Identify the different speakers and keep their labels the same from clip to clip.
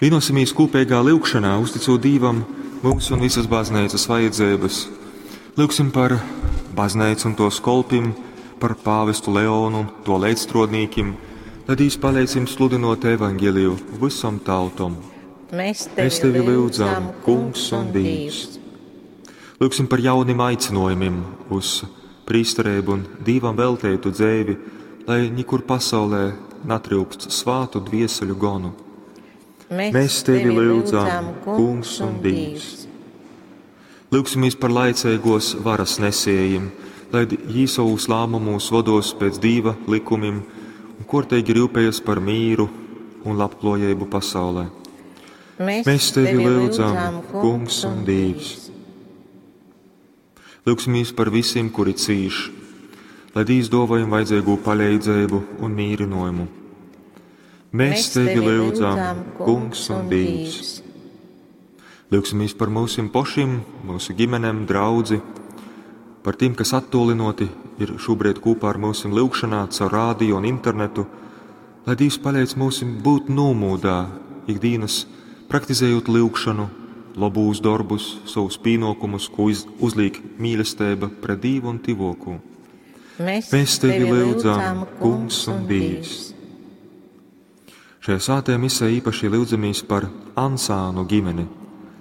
Speaker 1: Vienosimies kopīgā lyugšanā, uzticot Dīvam mūsu un visas baznīcas vajadzības. Lūgsim par baznīcu un tos kolpim, par pāvestu Leonu un to līdzstrodnīkim, lai Dievs palīdz jums sludinot evaņģeliju visom tautom.
Speaker 2: Mēs tevi,
Speaker 1: Mēs tevi lūdzam, Kungs un Dievs. Lūgsim par jaunim aicinojumiem uz prīsterību un Dievam veltētu dzēvi, lai nekur pasaulē natryukst svātu dvieseļu gonu.
Speaker 2: Mēs
Speaker 1: tevi lūdzam, Kungs un Dievs. Lūgsimies par laicīgos varas nesējiem, lai jī savus lēmumus vados pēc Dieva likumiem un kortīgi rūpējas par mīru un labklājību pasaulē.
Speaker 2: Mēs,
Speaker 1: Mēs tevi lūdzam, Kungs un Dievs. Lūgsimies par visiem, kuri cīš, lai Dievs dāvājam vajadzīgo palīdzību un mīrinājumu. Mēs tevi lūdzam, Kungs un Dievs. Lūgsimies par mūsim pašiem, mūsu ģimenēm, draudzi, par tiem, kas attolinoti ir šobrīd kopā ar mūsim lūgšanā caur rādio un internetu, lai Dievs palīdz mūsim būt nomūdā ikdienas, praktizējot lūgšanu, labūs darbus, savus pienākumus, ko uzliek mīlestība pret Dievu un tivokū.
Speaker 2: Mēs,
Speaker 1: Mēs tevi lūdzam, Kungs un Dievs. Šajā svētajā misē īpaši lūdzamies par Ansānu ģimeni,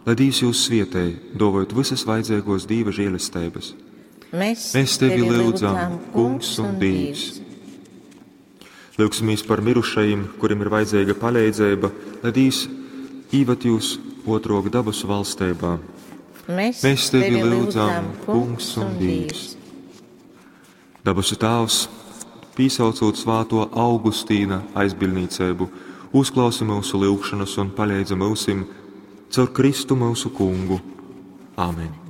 Speaker 1: lai Dievs jūs svietē, dovojot visas vajadzīgos Dieva žēlestības.
Speaker 2: Mēs,
Speaker 1: Mēs tevi lūdzam, Kungs un Dievs. Lūgsimies par mirušajiem, kuriem ir vajadzīga palīdzība, lai Dievs īvad jūs otrok dabasu valstībā.
Speaker 2: Mēs,
Speaker 1: Mēs tevi lūdzam, Kungs un Dievs. Dabasu Tēvs, pīsaucot svāto Augustīna aizbildniecību, uzklausi mūsu lūgšanas un palīdzi mūsim caur Kristu mūsu kungu. Āmen!